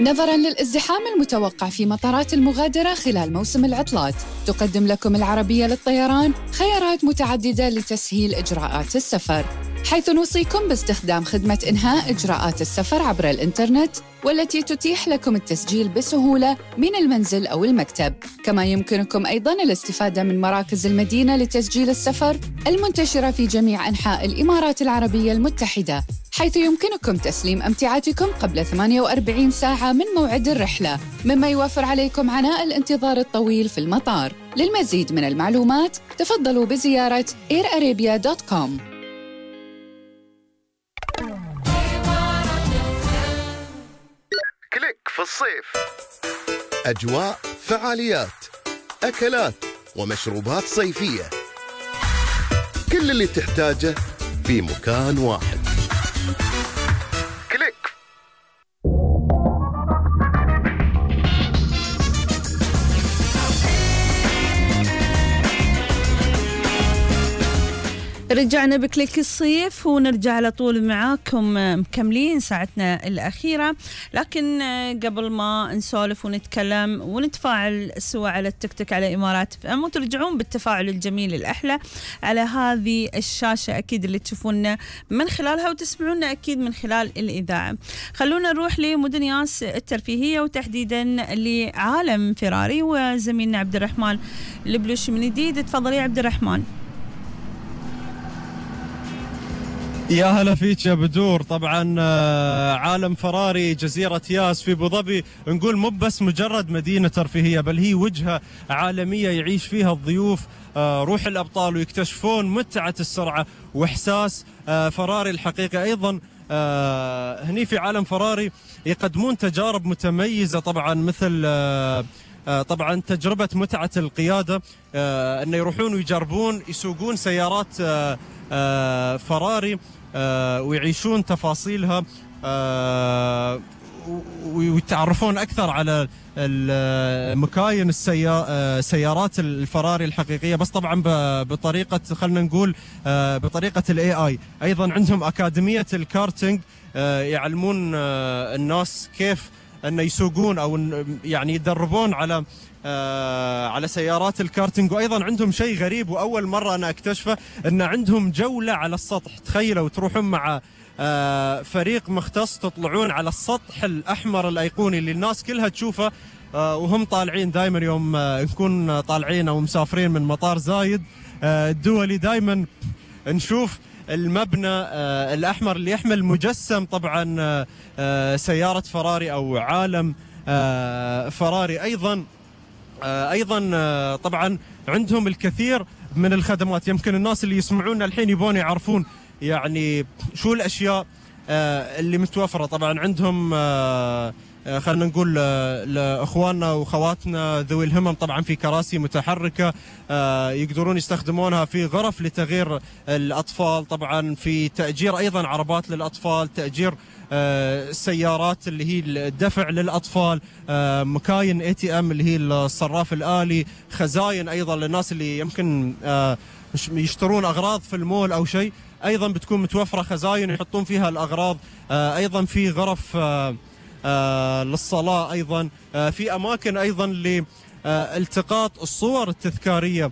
نظراً للازدحام المتوقع في مطارات المغادرة خلال موسم العطلات، تقدم لكم العربية للطيران خيارات متعددة لتسهيل إجراءات السفر، حيث نوصيكم باستخدام خدمة إنهاء إجراءات السفر عبر الإنترنت، والتي تتيح لكم التسجيل بسهولة من المنزل أو المكتب. كما يمكنكم أيضاً الاستفادة من مراكز المدينة لتسجيل السفر المنتشرة في جميع أنحاء الإمارات العربية المتحدة، حيث يمكنكم تسليم أمتعتكم قبل 48 ساعة من موعد الرحلة، مما يوفر عليكم عناء الانتظار الطويل في المطار. للمزيد من المعلومات تفضلوا بزيارة airarabia.com. كليك في الصيف، أجواء، فعاليات، أكلات ومشروبات صيفية، كل اللي تحتاجه في مكان واحد. كليك. رجعنا بكليك الصيف ونرجع على طول معاكم مكملين ساعتنا الأخيرة، لكن قبل ما نسولف ونتكلم ونتفاعل سوا على التيك توك على إمارات FM، وترجعون بالتفاعل الجميل الأحلى على هذه الشاشة أكيد اللي تشوفونا من خلالها وتسمعونا أكيد من خلال الإذاعة. خلونا نروح لمدن ياس الترفيهية، وتحديدا لعالم فراري، وزميلنا عبد الرحمن البلوشي من جديد. تفضل يا عبد الرحمن. يا هلا فيك يا بدور. طبعا عالم فراري جزيرة ياس في أبوظبي نقول مو بس مجرد مدينة ترفيهية، بل هي وجهة عالمية يعيش فيها الضيوف روح الأبطال ويكتشفون متعة السرعة وإحساس فراري الحقيقي. أيضا هني في عالم فراري يقدمون تجارب متميزة، طبعا مثل طبعا تجربة متعة القيادة، أن يروحون ويجربون يسوقون سيارات فراري ويعيشون تفاصيلها ويتعرفون أكثر على مكاين سيارات الفراري الحقيقية، بس طبعا بطريقة خلنا نقول بطريقة AI. أيضا عندهم أكاديمية الكارتينج يعلمون الناس كيف أن يسوقون أو يعني يدربون على سيارات الكارتينج. وأيضا عندهم شيء غريب وأول مرة أنا أكتشفه، أن عندهم جولة على السطح. تخيلوا تروحون مع فريق مختص تطلعون على السطح الأحمر الأيقوني اللي الناس كلها تشوفه وهم طالعين. دائما يوم نكون طالعين أو مسافرين من مطار زايد الدولي دائما نشوف المبنى الأحمر اللي يحمل مجسم طبعا سيارة فراري أو عالم فراري. أيضا طبعا عندهم الكثير من الخدمات. يمكن الناس اللي يسمعونا الحين يبون يعرفون يعني شو الأشياء اللي متوفرة. طبعا عندهم خلنا نقول لأخواننا وأخواتنا ذوي الهمم طبعا في كراسي متحركة يقدرون يستخدمونها في غرف لتغيير الأطفال، طبعا في تأجير أيضا عربات للأطفال، تأجير السيارات اللي هي الدفع للأطفال، مكاين ATM اللي هي الصراف الآلي، خزاين أيضا للناس اللي يمكن يشترون أغراض في المول أو شيء، أيضا بتكون متوفرة خزاين يحطون فيها الأغراض. أيضا في غرف للصلاة، أيضا في أماكن أيضا لالتقاط الصور التذكارية،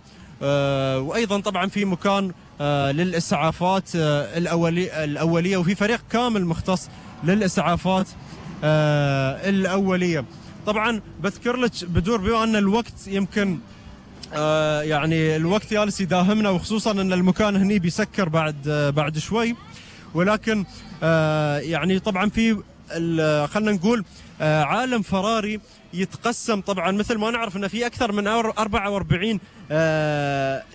وأيضا طبعا في مكان للإسعافات الأولية، وفي فريق كامل مختص للإسعافات الأولية. طبعا بذكر لك بدور بما أن الوقت يمكن يعني الوقت جالس يداهمنا، وخصوصا أن المكان هني بيسكر بعد شوي، ولكن يعني طبعا في خلنا نقول عالم فراري يتقسم طبعا مثل ما نعرف أنه في أكثر من 44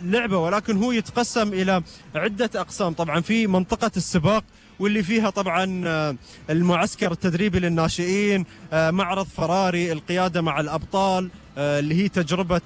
لعبة، ولكن هو يتقسم إلى عدة أقسام. طبعا في منطقة السباق واللي فيها طبعا المعسكر التدريبي للناشئين، معرض فراري، القيادة مع الأبطال اللي هي تجربة